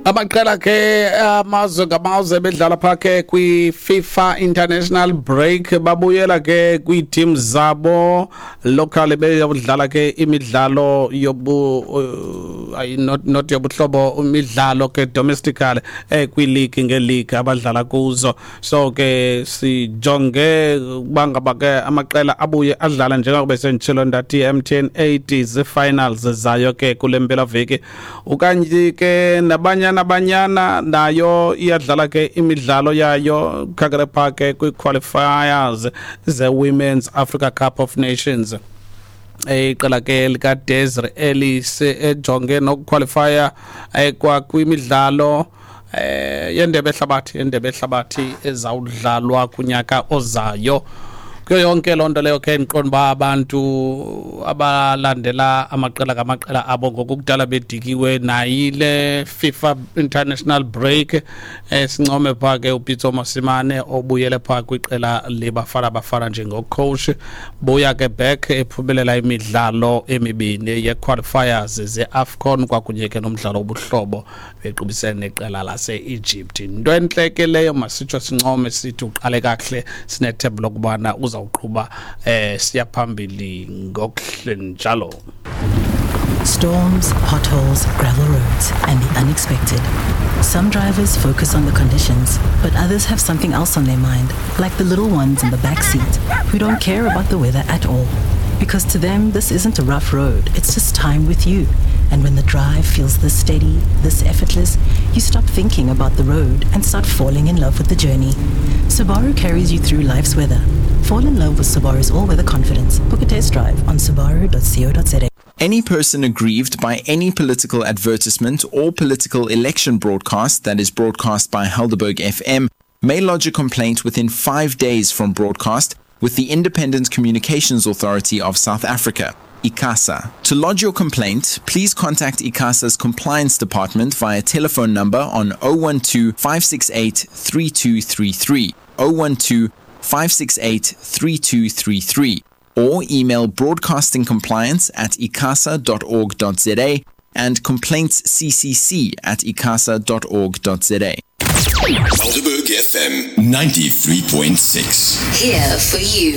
Amaqela ke amazwe ngamazwe bedlala pha ke kwi-FIFA International Break, babuyela ke kwii-team zabo local, beyodlala ke imidlalo yobu not yobuhlobo, imidlalo ke domestically kwileague ngeleague abadlala kuzo. So ke sijonge uba ngaba ke amaqela abuye adlala, njengoba senditshilo ndathi MTN 8 zii-finals zayo ke kule mpelaveki. Ukanti ke naBanyana Banyana nayo iyadlala ke imidlalo yayo khangele pha ke kwi-qualifiers ze-Women's Africa Cup of Nations. Iqela ke likaDesiree Ellis ejonge nokuqualifya kwa kwimidlalo yendebe ehlabathi ezawudlalwa kunyaka ozayo. Kuyo yonke loo nto leyo ke, ndiqonda uba abantu abalandela amaqela ngamaqela abo ngokukudala bedikiwe nayile FIFA International Break. Sincome pha ke uPitso Mosimane obuyele pha kwiqela leBafana Bafana njengocoach, buya ke back ephumelela imidlalo emibini ye-qualifiers ze-AFCON kwakunye ke nomdlalo wobuhlobo bequbisene neqela lase-Egypt. Into entle ke leyo, masitsho sincome sithi uqale kakuhle, sinethemba lokubana uzawuqhuba siya phambili ngokuhle njalo. Storms, potholes, gravel roads, and the unexpected. Some drivers focus on the conditions, but others have something else on their mind, like the little ones in the back seat who don't care about the weather at all. Because to them, this isn't a rough road, it's just time with you. And when the drive feels this steady, this effortless, you stop thinking about the road and start falling in love with the journey. Subaru carries you through life's weather. Fall in love with Subaru's all weather confidence. Book a test drive on subaru.co.za. Any person aggrieved by any political advertisement or political election broadcast that is broadcast by Helderberg FM may lodge a complaint within 5 days from broadcast with the Independent Communications Authority of South Africa, ICASA. To lodge your complaint, please contact ICASA's compliance department via telephone number on 012 568 3233, 012 568 3233, or email broadcastingcompliance@icasa.org.za and complaintsccc@icasa.org.za. Helderberg FM 93.6. Here for you.